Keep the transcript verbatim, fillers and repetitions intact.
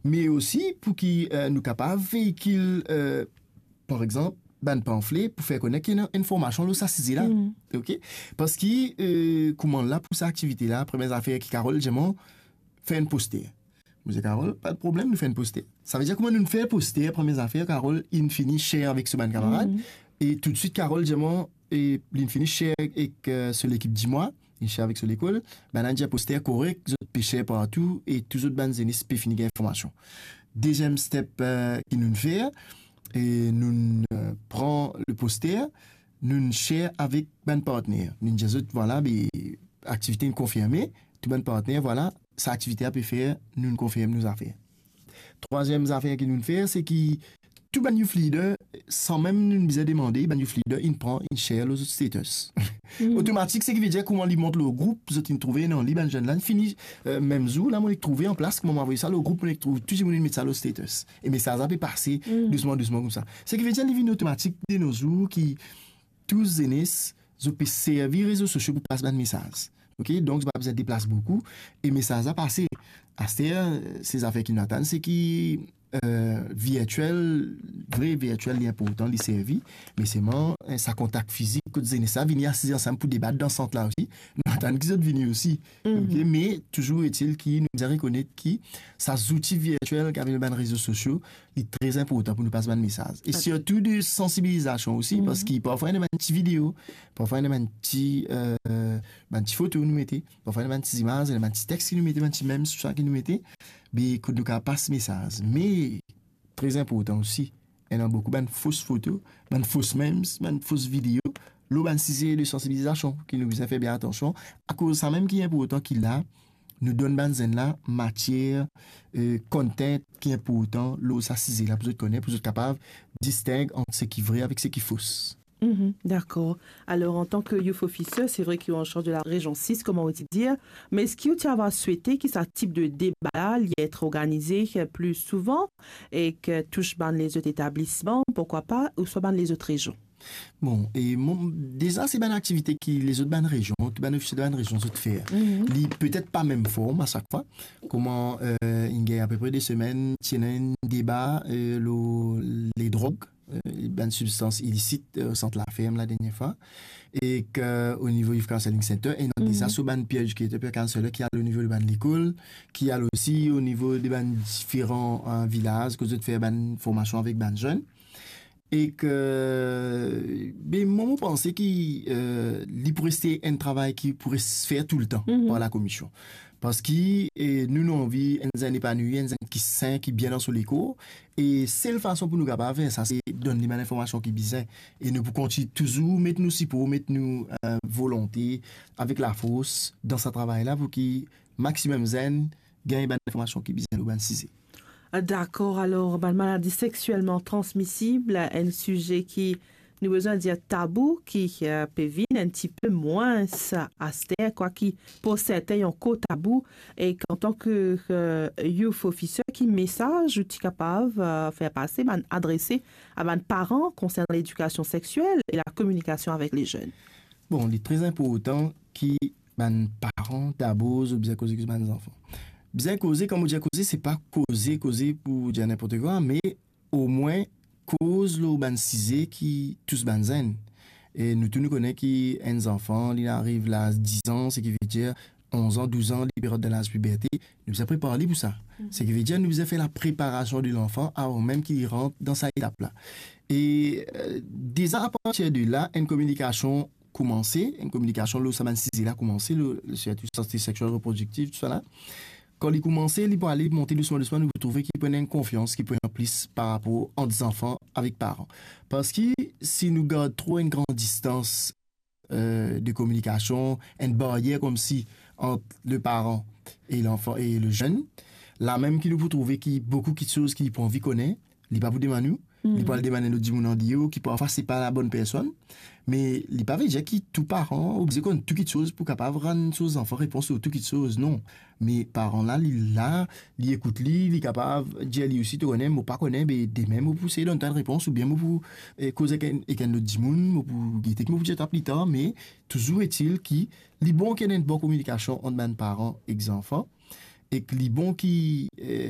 me osi pou ki, eh, nou kapav veikil, eh, par exanp, bann panfle pou fer konet ki ena enn formasion lor sa size la. Mm. Ok? Parski, eh, kouma la pou sa aktivite la, premie zafer ki Carole dir mwa, fer enn poster. Mo dir Carole, pa de problem, nou fer enn poster. Sa vedir kouma nou fer poster, premie zafer, Carole, inn fini share avek so bann kamarad, mm, e toutswit Carole dir mwa, e linn fini share ek, eh, so lekip Dimwa, inn share avek so lekol, bann-la dir poster korek, zot pe share partou, e tou zot bann zenes pe fini gagn formasion. Deziem step, eh, ki nou fer, e nou, eh, pran le poster, nou share avek bann partner. Nou dir zot, vwala, be, aktivite inn konfirme, tou bann partner, vwala, sa aktivite-la pe fer, nou konfirm nou zafer. Trwaziem zafer ki nou fer, se ki tou bann youth leader, san mem nou bizin demande, bann youth leader inn pran, inn share lor zot status. Mm. Otomatik, seki vedir kouma li mont lor group, zot inn trouve, non, li bann zenn la, inn fini, eh, mem zour la, mo nek trouve an plas, kouma mo avoy sa lor group, mo nek trouv tou dimoun inn met sa lor status. E mesaz la pe pase, mm, dousman, dousman koumsa. Seki vedir li vinn otomatik de nos jours ki tou zenes, zot pe servi rezo sosio pou pas bann mesaz. Ok, donk zot pa bizin deplas boukou, e mesaz la pase. Aster, se zafer ki nou atann, se ki, eh, virtiel, vre virtiel, li inportan, li servi, me selman, eh, sa kontak fizik, kot zenes la vini asiz ansam pou debat dan sant la osi, nou atann ki zot vini osi. Mhm. Ok, me touzour etil ki nou bizin rekonet ki sa zouti virtiel ki avek bann rezo sosio, li tre inportan pou nou pas bann mesaz. E sirtou de sansibilizasion osi, mhm, parski parfwa ena bann ti video, parfwa ena bann ti, eh, bann ti foto nou mete, parfwa ena bann ti zimaz, ena bann ti text ki nou mete, bann ti memes, tousala ki nou mete, be kot nou kapav pas mesaz. Me, tre inportan osi, ena boukou bann fos foto, bann fos memes, bann fos video, lor bann size de sansibilizasion, ki nou bizin fer bien atansion. Akoz samem ki inportan ki la, nou donn bann zenn la matier, eh, content ki inportan lor sa size la pou zot kone, pou zot kapav disteng ant seki vre avek seki fos. Mhm, dakor. Alor, antan ke Youth Officer, se vre ki ou an charz de la rezion sis, kouma ou ti dir, me eski ou ti ava swete ki sa tip de deba la, li et organize, eh, pli souvan e ki tous bann lezot etablisman, pourkwa pa, ouswa bann lezot rezion? Bon, e mo, deza se bann aktivite ki lezot bann rezion, tou bann ofisie de bann rezion zot fer. Mhm. Li petet pa mem form a sak fwa. Kouma, eh, inn gagn apepre de semenn, ti ena enn deba, eh, lor ledrog, eh, bann sibstans ilisit, eh, o Sant Laferm ladernie fwa. E ki, o nivo Youth Counselling Center, ena deza so bann peer educator, peer counselor ki al o nivo de bann lekol, ki al osi o nivo de bann diferan, eh, vilaz, kot zot fer bann formasion avek bann zenn. E ki, be, mwa, mo panse ki, eh, li pou reste enn travay ki pou res-, fer toultan par lakomision. Parski, eh, nou, nou anvi enn zenn epanouir, enn zenn ki sen, ki bien dan so lekor. E sel fason pou nou kapav fer sa, se donn li bann linformasion ki bizin. E nou pou kontign touzour met nou sipor, met nou, eh, volonte avek lafors dan sa travay la pou ki maximum zenn gagn bann linformasion ki bizin lor bann size. Ah, dakor. Alor, bann maladi sexielman transmisib, enn size ki nou bizin dir tabou, ki, eh, pe vinn enn tipe mwins aster, kwa ki pou serten li ankor tabou, e antan ke, eh, Youth Officer, ki mesaz ou ti kapav, eh, fer pase, bann adrese a bann paran konsernan ledikasion sexiel e lakominikasion avek lezenn? Bon, li tre inportan ki bann paran dabor, zot bizin koze ek bann zanfan. Bizin koze, kan mo dir koze, se pa koze, koze pou dir ninport kwa, me omwin koz lor bann size ki tous bann zenn. E nou tou nou kone ki enn zanfan, li ariv laz diz an, seki vedir onz an, douz an, li pe rant dan laz piberte, nou bizin prepar li pou sa. Mhm. Seki vedir nou bizin fer lapreparasion de lanfan avan mem ki li rant dan sa etap la. E, eh, deza apartir de la, enn kominikasion koumanse, enn kominikasion lor sa bann size la koumanse, lor, lor sirtou sante sexiel reprodiktif, tousala. Kan li koumanse, li pou ale monte dousman, dousman, nou pou trouve ki pou ena enn konfians ki pou ena plis par rapor ant zanfan avek paran. Parski si nou gard tro enn gran distans, eh, de kominikasion, enn baryer koumsi ant le paran e lanfan e lezenn, lamem ki nou pou trouve ki boukou kiksoz ki li pou anvi kone, li pa pou demann ou, li pou al demann enn lot dimoun andeor, ki parfwa se pa labonn personn, me li pa vedir ki tou paran oblize konn tou kiksoz pou kapav rann so zanfan repons lor tou kiksoz, non. Me paran la, li la, li ekout li, li kapav dir li osi, to kone, mo pa kone, be demin mo pou sey donn twa enn repons, oubien mo pou, eh, koz ek enn, ek enn lot dimoun, mo pou gete ki mo pou dir twa pli tar, me touzour etil ki li bon ki ena enn bon kominikasion ant bann paran ek zanfan, ek li bon ki, eh,